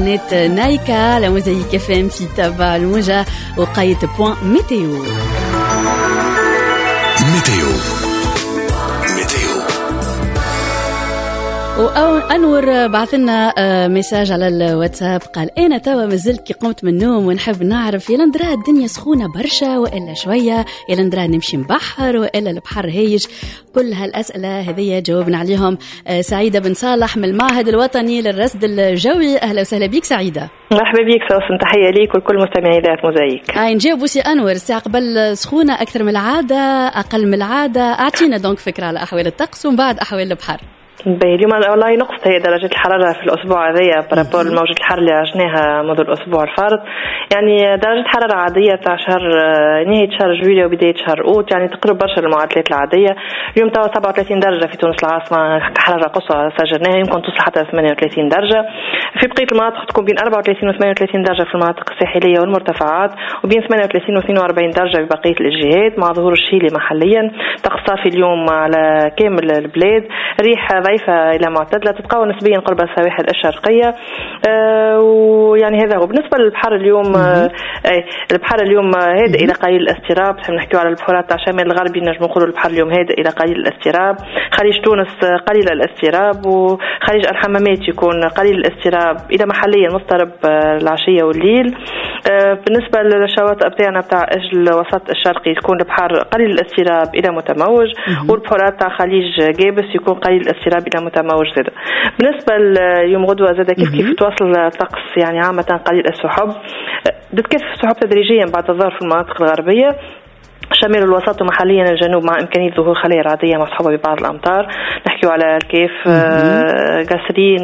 نت نايكا على موزايك FM في تبع الموجة وقاية point météo. météo météo. وأنور بعث لنا message على الواتساب، قال أنا توا مازلت كي قمت من النوم ونحب نعرف يا ندرا الدنيا سخونة برشا وإلا شوية، يا ندرا نمشي نبحر وإلا البحر هايج. كل هالأسئلة هذه جاوبنا عليهم سعيدة بن صالح من المعهد الوطني للرصد الجوي. أهلا وسهلا بك سعيدة. مرحبا بك سوسن، تحية ليك ولكل مستمعي إذاعة موزايك. نجاوبوا سي أنور، الساعة قبل سخونة أكثر من العادة أقل من العادة، أعطينا donc فكرة على أحوال الطقس ومن بعد أحوال البحر. باهي، اليوم والله نقصت هي درجة الحرارة في الأسبوع هذايا par rapport لموجة الحر اللي عشناها منذ الأسبوع الفارط. يعني درجة حرارة عادية تاع شهر نهاية شهر جويلية وبداية شهر أوت، يعني تقرب برشا للمعدلات العادية. اليوم توا 37 درجة في تونس العاصمة، حرارة قصوى سجلناها، يمكن توصل حتى 38 درجة. في بقية المناطق تكون بين 34 و 38 درجة في المناطق الساحلية والمرتفعات، وبين 38 و 42 درجة في بقية الجهات، مع ظهور الشيلي محليا. طقس صافي اليوم على كامل البلاد، ريح ضعيفة إلى معتدلة، تتقوى نسبيا قرب السواحل الشرقية. ويعني هذا هو بالنسبة للبحر اليوم. البحر اليوم هادئ إلى قليل الاضطراب. نحكيو على البحورات تاع الشمال الغربي، نجم نقولوا البحر اليوم هادئ إلى قليل الاضطراب. خليج تونس قليل الاضطراب، وخليج الحمامات يكون قليل الاضطراب إلى محليا مضطرب العشية والليل. بالنسبة للشواطئ بتاعنا بتاع الوسط الشرقي يكون البحر قليل الاضطراب إلى متموج، والبحورات تاع خليج جابس يكون قليل الاضطراب إلى متموج زاد. بالنسبة ليوم غدوة زاد كيف كيف تواصل الطقس، يعني عامة قليل السحب، تتكثف السحب تدريجيا بعد الظهر في المناطق الغربية، شمال الوسط ومحليا الجنوب، مع إمكانية ظهور خلايا رعدية مصحوبة ببعض الأمطار. نحكيو على الكيف، قصرين،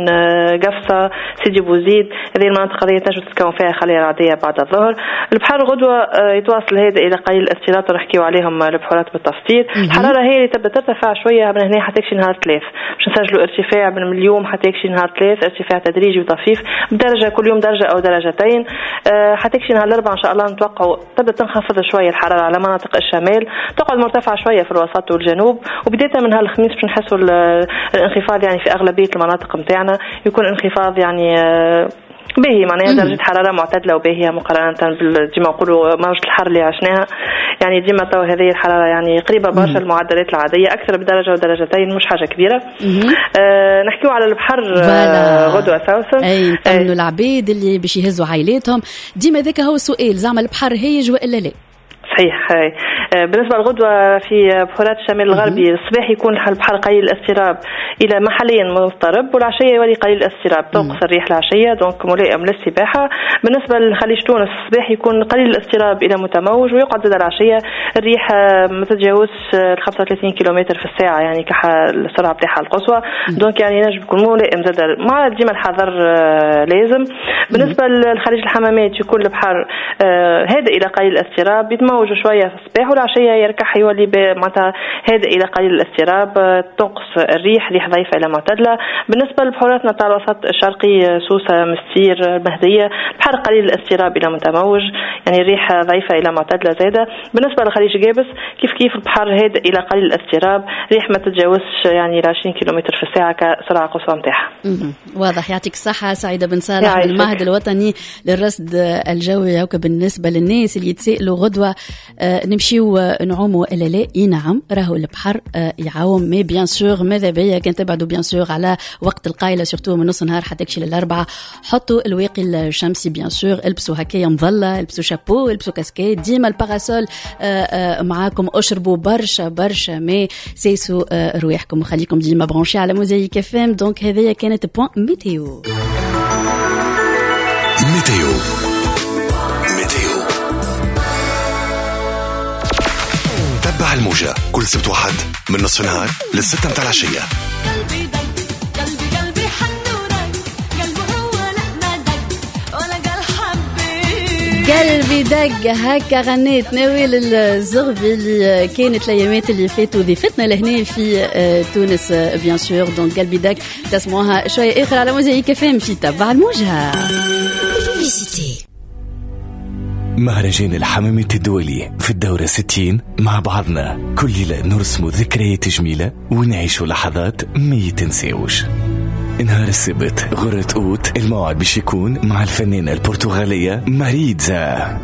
قفصة، سيدي بوزيد، هذه المناطق هذه تنجم تتكون فيها خلايا رعدية بعد الظهر. البحر غدوة يتواصل هذا إلى قليل الاضطراب، نحكيو عليهم البحورات بالتفصيل. الحرارة هي اللي تبدا ترتفع شوية من هنا حتى يكشي نهار ثلاث، باش نسجلوا ارتفاع من اليوم حتى يكشي نهار ثلاث، ارتفاع تدريجي وطفيف بدرجة كل يوم درجة أو درجتين. حتى يكشي نهار الأربعاء إن شاء الله نتوقعوا تبدا تنخفض شوية الحرارة على مناطق الشمال، تقعد مرتفعة شوية في الوسط والجنوب، وبداية من هالخميس باش نحسوا الانخفاض يعني في أغلبية المناطق متاعنا، يكون انخفاض يعني باهي، معناها درجة حرارة معتدلة وباهية مقارنة ديما نقولوا موجة الحر اللي عشناها. يعني ديما تو هذه الحرارة يعني قريبة برشا المعدلات العادية، أكثر بدرجة ودرجتين، مش حاجة كبيرة. نحكيو على البحر غدوة سوسن. أي نطمنوا العبيد اللي باش يهزوا عائلاتهم، ديما ذاك هو السؤال، زعما البحر هايج وإلا لا؟ صحيح. بالنسبة للغدوة في بحورات الشمال الغربي، الصباح يكون البحر قليل الاضطراب إلى محليا مضطرب، والعشية يولي قليل الاضطراب، تنقص الريح العشية، donc ملائم للسباحة. بالنسبة لخليج تونس الصباح يكون قليل الاضطراب إلى متموج، ويقعد زاد العشية الريح ما تتجاوزش 35 كيلومتر في الساعة، يعني السرعة بتاعها القصوى، donc يعني نجم يكون ملائم زاد، مع ديما الحذر لازم. بالنسبة لخليج الحمامات يكون البحر هادئ إلى قليل الاضطراب، يتموج شوية في الصباح، والعشيه يركح يولي معناتها هادئ الى قليل الاضطراب، تنقص الريح، ريح ضعيفة الى معتدلة. بالنسبة لبحوراتنا تاع الوسط الشرقي، سوسة، مستير، مهديه، البحر قليل الاضطراب الى متموج، يعني الريح ضعيفة الى معتدلة زاده. بالنسبة لخليج جابس كيف كيف البحر هادئ الى قليل الاضطراب، ريح ما تتجاوزش يعني 20 كيلومتر في الساعة كسرعه قصوى نتاعها. واضح. يعطيك الصحة سعيدة بن صالح من المعهد الوطني للرصد الجوي. هكا بالنسبة للناس اللي يتسائلوا غدوه نمشيو نعوموا ولا لا؟ اي نعم، راهو البحر يعوم، mais bien sûr ماذا بيا كان تبعدوا bien sûr على وقت القايله، surtout من نص نهار حتى تكشي للاربعه. حطوا الواقي الشمسي bien sûr، البسوا هكايا مظلة، البسوا شابو، البسوا كاسكيت، ديما ال parasol معاكم، اشربوا برشا برشا ماء، سيسوا رواحكم وخليكم ديما branchés على موزايك FM. donc هذه كانت point météo. météo météo، تبع الموجة كل سبت وحد من نصف النهار للستة متاع العشية. قلبي دق قلبي قلبي حن ورق، قلبه هو لا ما دق ولا قال حبيت، قلبي دق. هكا غنيت نوال الزغبي اللي كانت الايامات اللي فاتوا ضيفتنا لهنا في تونس bien sûr. donc قلبي دق تسمعوها شوية اخر على موزايك FM في تبع الموجة. مهرجان الحمامات الدولي في الدورة 60 مع بعضنا كل ليلة نرسم ذكريات جميلة ونعيش لحظات ما يتنساوش. نهار السبت غرة أوت الموعد باش يكون مع الفنانة البرتغالية ماريتزا.